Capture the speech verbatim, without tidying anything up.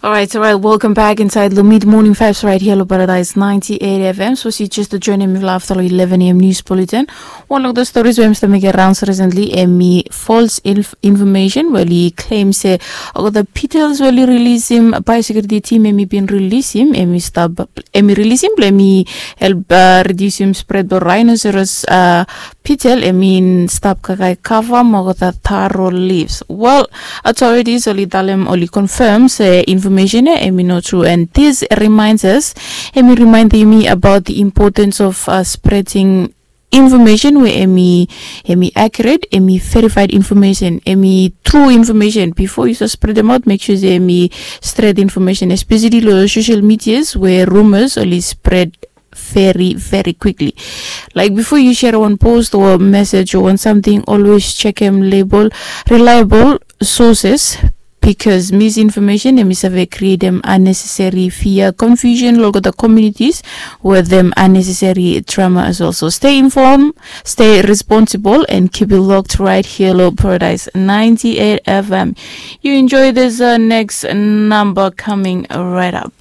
Alright, alright. Welcome back inside the Mid Morning Vibes right here on Paradise ninety-eight F M. So si just join me after eleven a.m. news bulletin. One of the stories we I'm making rounds recently, emi false inf- information. Well, he claims say, oh, the petals well, he release him by security team, emi been release him, emi stop, emi release him, let me help uh, reduce him spread the rhinoceros uh, petal, emi stop kakai cover, mogo the taro leaves. Well, authorities oli talem oli confirm se information e emi no true, and this reminds us, emi remind me about the importance of uh, spreading information where emi emi accurate, emi verified information, emi true information. Before you start spread them out, make sure say emi straight information, especially lo social medias where rumors only spread very very quickly. Like before you share one post or message or one something, always check em label reliable sources, because misinformation emi save create them unnecessary fear, confusion, local the communities with them unnecessary trauma as well. So stay informed, stay responsible, and keep it locked right here lo Paradise ninety-eight F M. You enjoy this uh, next number coming right up.